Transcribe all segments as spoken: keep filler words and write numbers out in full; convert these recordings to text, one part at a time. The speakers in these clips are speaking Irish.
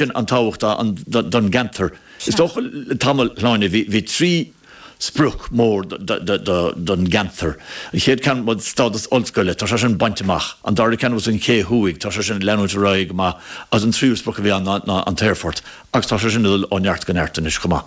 Sin an tábhacht don gceantar. Is dócha le tamall, Shláine, bhí trí sprioc mór don gceantar. An chéad ceann was stádas ollscoile, tá sé sin bainte amach. An dara ceann was an Ché Thuaidh, tá sé sin ag leanúint ar aghaidh go maith. Agus an tríú sprioc a bhí ann ná an t-aerfort, agus tá sé sin ag dul ó neart go neart anois chomh maith.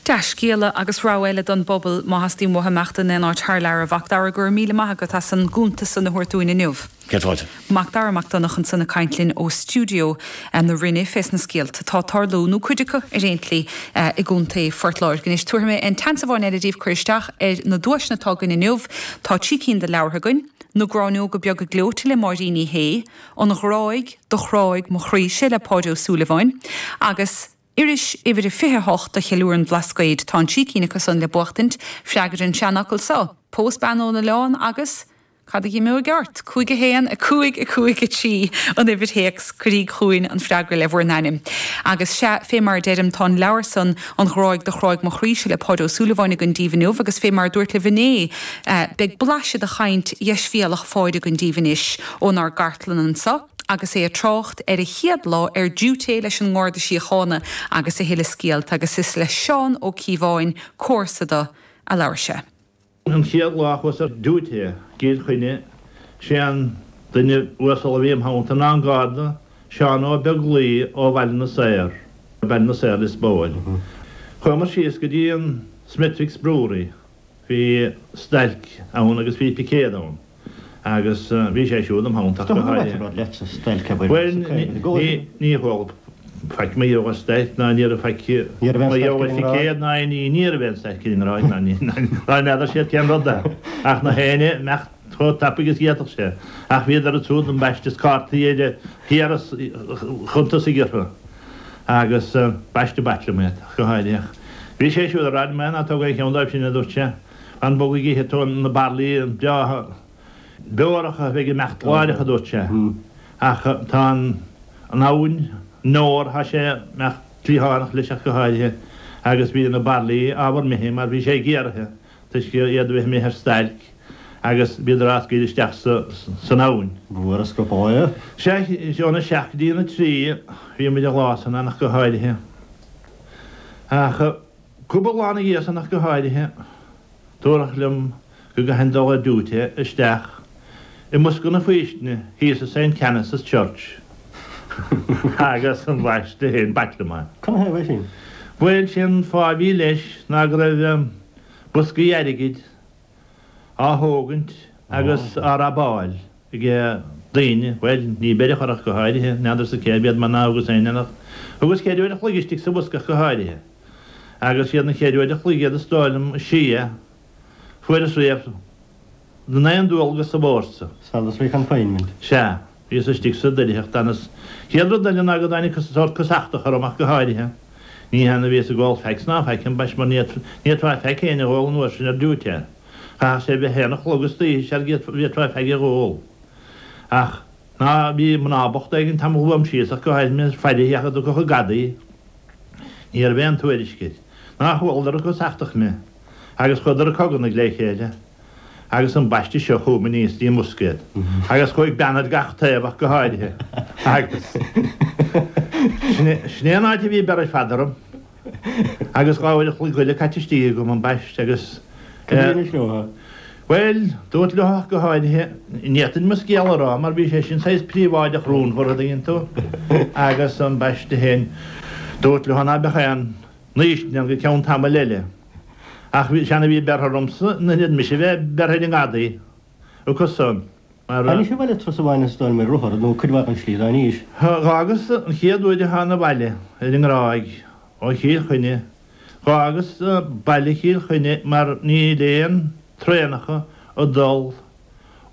Dea-scéala agus rogha eile don bpobal má theastaíonn uathu imeacht in aon áit thar lear. A Mhac Dara, go raibh míle maith agat as an gcuntas san a thabhairt dúinn inniu. Céad fáilte. Mac Dara Mac Donncha ansan ag caint linn ó stiúideo na Rinne fés na scéalta atá ag tarlú, nó cuid acu ar aon tslí, i gContae Phort Láirge. Anois tabharfaidh mé an tseans amháin eile daoibh cur isteach ar na duaiseanna atá againn inniu. Tá trí cinn de leabhartha againn, Na Gráinneoga Beaga Gleoite le Máirín Ní Shé, An Ghráig do Chráigh Mo Chroí-se le Páidí Ó Súilleabháin, agus Iris uimhir a fiche a hocht a cheiliúrann an Bhlascaoid. Tá an trí cinn acu san le buachtaint. Freagair an seanfhocal so, Pós bean ón oileán agus. Cad a dh'imeoidh ort? Cúig a haon, a cúig, a cúig, a trí, an uimhir théacs, cuiríg chugainn an freagra le bhur n-ainm. Agus sea, fé mar a deirim, tá an leabhar san, An Ghráig do Chráigh Mo Chroí-se le Páidí Ó Súilleabháin againn daoibh inniu agus fé mar a dúirt libh inné, beidh blaiseadh de chaint dheisbhéalach Pháidí againn daoibh anois ónár gcartlann anso agus é ag trácht ar a chéad lá ar diúité leis an nGarda Síochána agus a thuilleadh scéalta agus is le Seán Ó Cíobháin, comharsa do, a labhair sé. An chéad lá a chuas ar diúité i gCill Chainnigh, sé an duine uasal a bhí im theannta ná an Garda Seán Ó Beaglaoi ó Bhaile na Saor, Baile na Saor, Lios Póil. Chuamar síos go dtí an Smithwick's Brewery, bhí stailc ann agus bhí picéad ann agus bhí sé siúd im theannta ach go háirithe. Bhuel, ní chuala faic mar gheall ar stailc ná ní raibh faic mar gheall ar phicéad ná aon ní, ní raibh aon stailc i nGráig ná ní ná n'fheadar siad cén rud é ach na héinne imeacht chomh tapaidh is d'fhéadfadh sé ach bhíodar ansúd ambaiste is cártaí ar thiar is chun tosaigh orthu agus ambaiste b'ait liom iad ach go háirithe ach bhí sé siúd ag rá liom é ná tóg aon cheann dóibh sin a dúirt sé fan bog go gcífidh tú na bairillí breátha beoracha a bheidh ag imeacht láithreach a dúirt sé ach tá an an abhainn an Nore, tá sé ag imeacht cliathánach leis ach go háirithe, agus bhí na bairillí ábhar imithe mar bhí sé géaraithe toisc iad a bheith imithe ar stailc agus bhíodar á scaoileadh isteach san abhainn. Bhfuair a scaipeadh é. Sea, óna seacht go dtí a trí bhí muid an lá san ann ach go háirithe. Ach cúpla lá ina dhiaidh san ach go háirithe, dúradh liom go gcaithfinn dul ar diúité isteach i mbosca na faoistine thíos i Saint Canice's Church agus ambaiste féin b'ait liom é. Canathaobh é sin? Bhuel, sé an fáth a bhí leis ná go raibh boscaí airgid á thógaint agus á rabáil ag daoine, bhuel, ní beireadh orthu ach go háirithe, n'fheadarsa cérbh iad mar ná thugas féin ach thugas ceithre uair a chloig istigh sa bhosca ach go háirithe. Agus siad na ceithre uair a chloig iad is dóigh liom is sia fuaireas riamh den aon dualgas sa bhfórsa. Solitary confinement. Sea, bhíos istigh sa doircheacht agus chéad rud eile ná go dtáinig sórt cosachtach orm ach go háirithe. Ní hea ná bhíos ag ól faic ná faic ambaist mar ní fhéadfá faic féin a dh'ól an uair sin ar diúité. Chaithfeadh sé bheith a haon a chlog istoíche sar bhféadfá faic a dh'ól. Ach ná bhí mná bochta éigin tamall uaim síos ach go háirithe mé ag faire ach a dtiocfadh an gadaí. Ní raibh aon tuairisc air. Ná chualadar ag cosachtach mé. Agus chuadar ag cogarnaigh le chéile. Agus ambaiste seo chugam aníos dtí an mbosca iad. Agus chuaigh bean ar gach taobh ach go háirithe. Agus sin é an áit a bhí bearradh fada orm. Agus dhá uair a chloig eile caite istigh agam ambaiste agus. Cad a rinne leo? Bhuel, dúirt leo ach go háirithe, ní fhéadfainn mo scéal a rá mar bhí sé sin saghas príobháideach rúnmhar, a dtuigeann tú, agus ambaiste féin, dúirt leo ná beadh aon fhaoistin ann go ceann tamaill eile. Ach seisean a bhí bearrtha ormsa, in ionad mise a bheith bearrtha ar an ngadaí acu san, mar. Tháinig abhaile turas amháin is dóigh liom ar rothar nó cuid mhaith den slí dá aníos. Dh'fhágas an chéad uair a thána abhaile ar an nGráig ó Chill Chainnigh, dh'fhágas baile Chill Chainnigh mar níl aon traenacha ag dul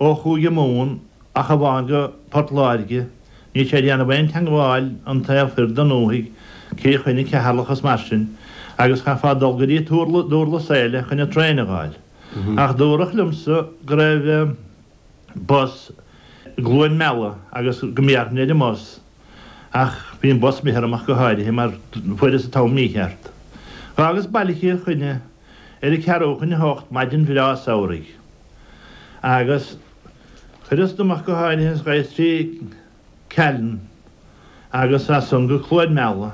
ó Chúige Mumhan ach amháin go Port Láirge, níl sé ag déanamh aon teangmháil an taobh thoir den ndúthaigh, Cill Chainnigh, Ceatharlach is mar sin, agus chaithfeá dul go dtí Dúrlas Éile chun an traein a dh'fháil. Ach dúradh liomsa go raibh bus i gCluain Meala agus go mbéarfainn ar an mbus, ach bhí an bus imithe orm ach go háirithe mar fuaireas an t-am mícheart. Dh'fhágas baile Chill Chainnigh ar a ceathrú chun a hocht maidin bhreá samhraidh agus chuireas dom ach go háirithe is ghabhas trí Callan agus as san go Cluain Meala.